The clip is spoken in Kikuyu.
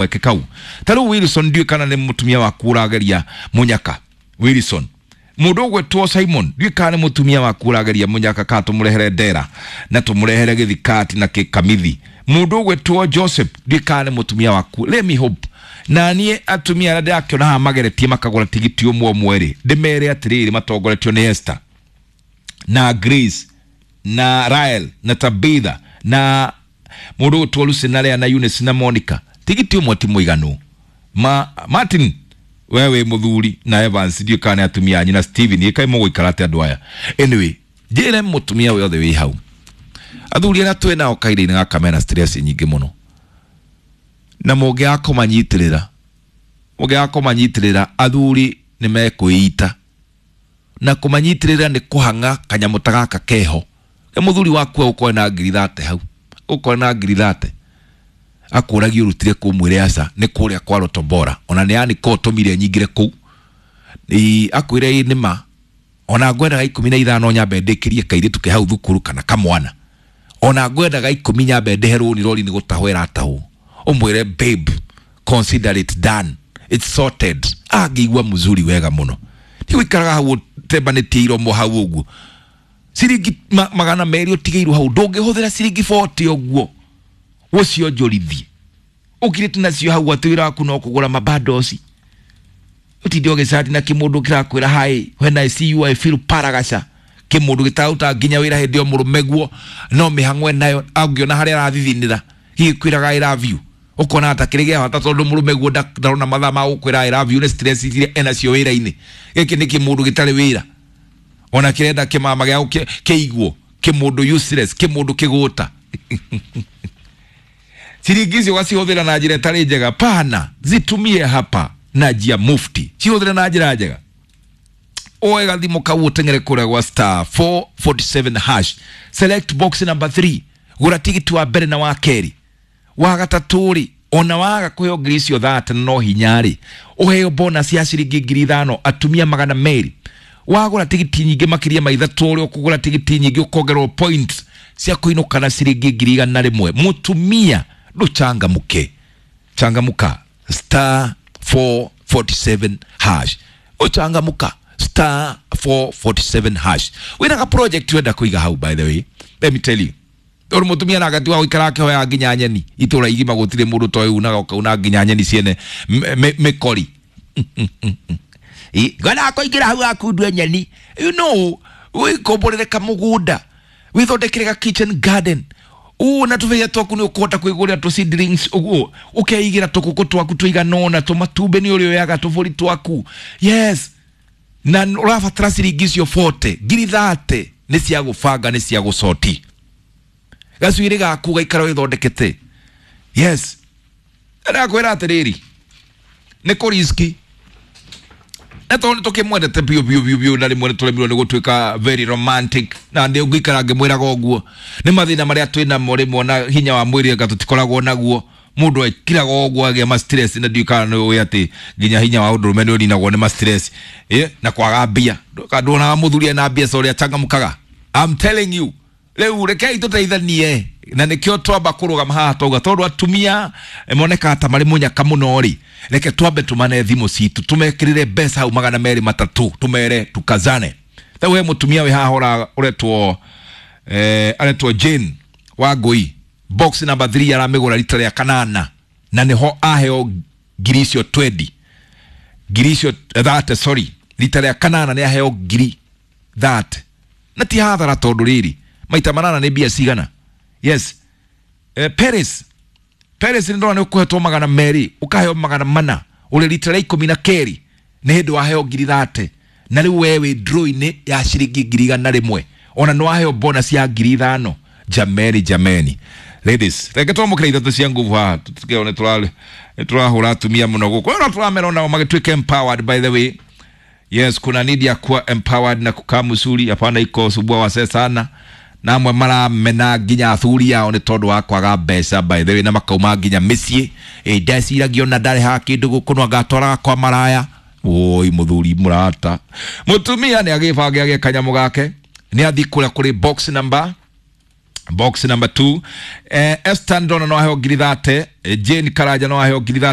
Kamweke kau. Ta rĩu Wilson, ndiũĩ kana nĩ mũtumia waku ũrageria mũnyaka. Wilson, mũndũ ũgwĩtwo Simon, ndiũĩ kana nĩ mũtumia waku ũrageria mũnyaka, kana tũmũrehere ndera na tũmũrehere gĩthikati na kĩkamithi. Mũndũ ũgwĩtwo Joseph, ndiũĩ kana nĩ mũtumia waku. Let me hope na niĩ atumia arĩa ndĩrakĩona haha mageretie makagũra tigiti ũmwe ũmwe rĩ, ndĩmere atĩrĩrĩ, matongoretio nĩ Esther na Grace na Rael na Tabitha na mũndũ ũgwĩtwo Lucy na Lea na Eunice na Monica, tigiti ũmwe ti mũiganu. Ma Martin, we wĩ mũthuri, na Evans, ndiũĩ kana nĩ atumia anyu, na Steven, ĩkai mũgũikara atĩa andũ aya? Anyway, njĩre mũtumia wothe wĩ hau, athuri arĩa twĩ nao kahinda-inĩ gaka mena stress nyingĩ mũno, na mũngĩaga kũmanyitĩrĩra, mũngĩaga kũmanyitĩrĩra, athuri nĩ mekwĩita. Na kũmanyitĩrĩra nĩ kũhang'a kanyamũ ta gaka keho. Nĩ mũthuri waku ũkorwe na 30,000 hau, ũkorwe na 30,000, akũragia ũrutire kũ, mwĩre aca, nĩ kũrĩa kwa Lotto Bora, ona nĩ yani ko tũmire nyingĩre kũu. Akwĩre ĩ nĩma, ona ngwendaga 15 nyambe ndĩkĩrie kairĩtu ke hau thukuru kana kamwana, ona ngwendaga 10 nyambe ndĩhe rũni, rori nĩ gũtahwo ĩratahwo. Ũmwĩre, "Babe, consider it done, it's sorted." Angĩigua mzuri wega mũno. Ti gũikaraga hau ũtembanĩtie iromo hau ũguo, ciringi 200 ũtigĩirwo hau, ndũngĩhũthĩra ciringi 40 ũguo ũcionjorithie ũkirĩte nacio hau, atĩ wĩra waku no kũgũra mabandoci, ũtinde ũgĩcati na kĩmũndũ kĩrakwĩra, "Hi, when I see you I feel paragasha." Kĩmũndũ gĩtararuta nginya wĩra, hĩndĩ ĩyo mũrũme guo no mĩhang'o nayo, angĩona harĩa arathithinĩra gĩkwĩraga "I love you", ũkona ta kĩrĩ gĩa bata, tondũ mũrũme guo ndarona mathaa ma gũkwĩra "I love you" nĩ stress iria enacio wĩra-inĩ. Gĩkĩ nĩ kĩmũndũ gĩtarĩ wĩra, ona kĩrenda kĩmama gĩa kĩigwo, kĩmũndũ useless, kĩmũndũ kĩgũta. Ciringi icio ũgacihũthĩra na njĩra ĩtarĩ njega. Pana, zitumie hapa na njia mufti, cihũthĩre na njĩra njega. Oe gathimũ kau, ũteng'ere kũrĩa gwa *447#, select box number 3, gũra tigiti wa mbere na wa kerĩ, wa gatatũ rĩ, ona waga kũheo 30,000 icio no hinya rĩ, ũheo bonus ya ciringi 5,000. Atumia 200, wagũra tigiti nyingĩ makĩria ma ithatũ, ũrĩa ũkũgũra tigiti nyingĩ ũkongererwo points cia kũinũka na ciringi 100,000. Mũtumia, ndũchangamke, changamuka, *447#, ũchangamuka, *447#. Wĩna ga project wenda kũiga hau. By the way, let me tell you, tondũ mũtumia na gati wa gũikara akĩhoya nginya nyeni itũra igima, gũtirĩ mũndũ toĩ unaga, ũkauna nginya nyeni ciene mĩkori, ngona kũingĩra hau akundue nyeni, wĩkomborere kamũgũnda, wĩthondekere ga kitchen garden ũ na tũbeia twaku, nĩ ũkũhota kwĩgũrĩra tũ seedlings ũguo, ũkeigĩra tũkũkũ twaku tũigana ũna, tũmatumbĩ nĩ ũrĩoyaga, tũbũri twaku. Yes, na ũrabatara ciringi icio 40, 30,000 nĩ cia gũbanga, nĩ cia gũcoti gacuĩrĩ gaku, gaikara wĩthondekete. Yes, ndakwĩra atĩrĩrĩ, nĩ kũ risk, na tondũ nĩ tũkĩmwendete biũ biũ biũ biũ, na rĩmwe nĩ tũremirwo nĩ gũtuĩka very romantic, na nĩ ngũikara ngĩmwĩraga ũguo, nĩ mathĩna marĩa twĩ namo rĩmwe na hinya wa mwĩrĩ anga tũtikoragwo naguo. Mũndũ ekiraga ũguo agĩa ma stress, na ndiũĩ kana nĩ ũĩ atĩ nginya hinya wa ũndũrũme nĩ ũninagwo nĩ ma stress na kwaga mbia. Nduonaga mũthuri ena mbia ũrĩa achangamkaga? I'm telling you. Rĩu rekei tũteithanie, na nĩkĩo twamba kũrũgama haha twauga, tondũ atumia monekaga ta marĩ mũnyaka mũno rĩ, reke twambe tũmane thimũ citũ, tũmekĩrĩre mbeca hau 230, tũmere tukazane. Rĩu he mũtumia wĩ haha ũretwo aretwo Jane Wangũi, box number 3 aramĩgũra rita rĩa kanana, na nĩho aheo ngiri icio 20, ngiri icio 30, sorry, rita rĩa kanana nĩ aheo 30,000, na ti hathara, tondũ rĩrĩ, maita manana nĩ mbia cigana? Yes. Paris, Paris, nĩ ndona nĩ ũkũhetwo 200, ũkaheo 400, ũrĩ rita rĩa 12, nĩ hĩndĩ waheo 30,000, na rĩu we wĩ draw-inĩ ya ciringi 100,000, ona nĩ waheo bonus ya 5,000. Jameni, jameni, ladies, reke twamũkĩra ithatũ cia nguvu haha, tũtikĩo nĩ tũrahũra atumia mũno gũkũ, no tũramera onao magĩtuĩka empowered. By the way, yes, kuna need ya kuwa empowered na kukaa mzuri, hapana iko subua wasee sana, na amwe maramena nginya athuri ao nĩ tondũ wa kwaga mbeca, by the way, na makauma nginya mĩciĩ. Ĩ ndeciragia ona ndarĩhaga kĩndũ gũkũ, no ngatwaraga kwa maraya. Oi, mũthuri mũrata, mũtumia nĩ agĩbange agĩe kanyamũ gake, nĩ athiĩ kũrĩa kũrĩ box number Box number 2, Esther Ndona no aheo 30,000, Jane Karaja no aheo 30,000.